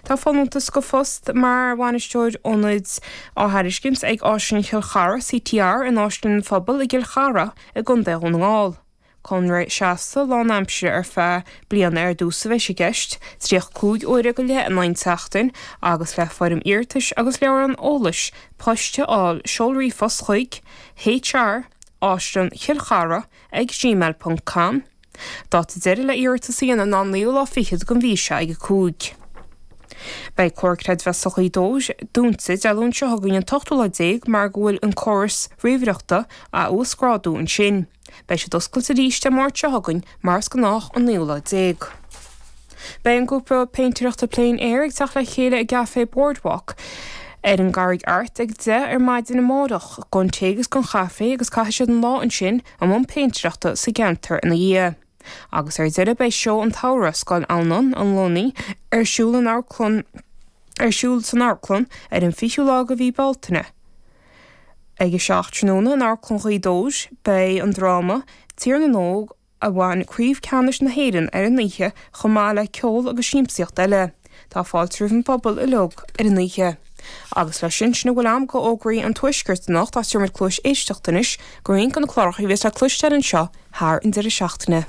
Tá folúntas do phost mar Bhainisteoir Ionaid á thairiscint ag Áislann Chill Chartha, CTR, in Áislann an Phobail i gCill Chartha i gContae Dhún na nGall. Conradh seasta lánaimsire ar feadh bliana ar dtús a bheidh i gceist, 35 uaire go leith in aghaidh an tseachtain, agus le foirm iarratais agus leabhrán eolais poist a fháil seol ríomhphost chuig HR, Áislann Chill Chartha ag gmail ponc com. Dáta deiridh le iarratas a dhéanamh ná an naoú lá fichead den mhí seo ag 5. Beidh Comhar Creidmheasa Ghaoth Dobhair dúnta Dé Luain seo chugainn an t-ochtú lá déag mar go bhfuil an córas ríomhaireachta á uasghrádú ansin. Beidh siad oscailte arís Dé Máirt seo chugainn mar is gnách an naoú lá déag. Beidh an grúpa péintéireachta Plein Air ag teacht le chéile i gCafé Boardwalk ar an gCarraig Airt ag 10 ar maidin amárach don tae agus don chaife agus caithfidh siad an lá ansin i mbun péintéireachta sa gceantar ina dhiaidh. Agus ar deireadh beidh Seó an tSamhraidh, Scoil Adhamhnáin, an Luanaí, ar siúl in amharclann ar siúl san amharclann ar an 20ú lá de mhí Bealtaine. Ag a 7 tráthnóna in Amharclann Ghaoth Dobhair beidh an dráma Tír na nÓg a bhain Craobh Ceannais na hÉireann ar an oíche chomh maith le ceol agus siamsaíocht eile. Tá fáilte roimh an bpobal uilig ar an oíche. Agus leis sin, sin a bhfuil agam de fhógraí an Tuaiscirt anocht ach tabharfaidh muid cluais éisteachta anois do roinnt de na cláracha a bheas le cloisteáil anseo thar an deireadh seachtaine.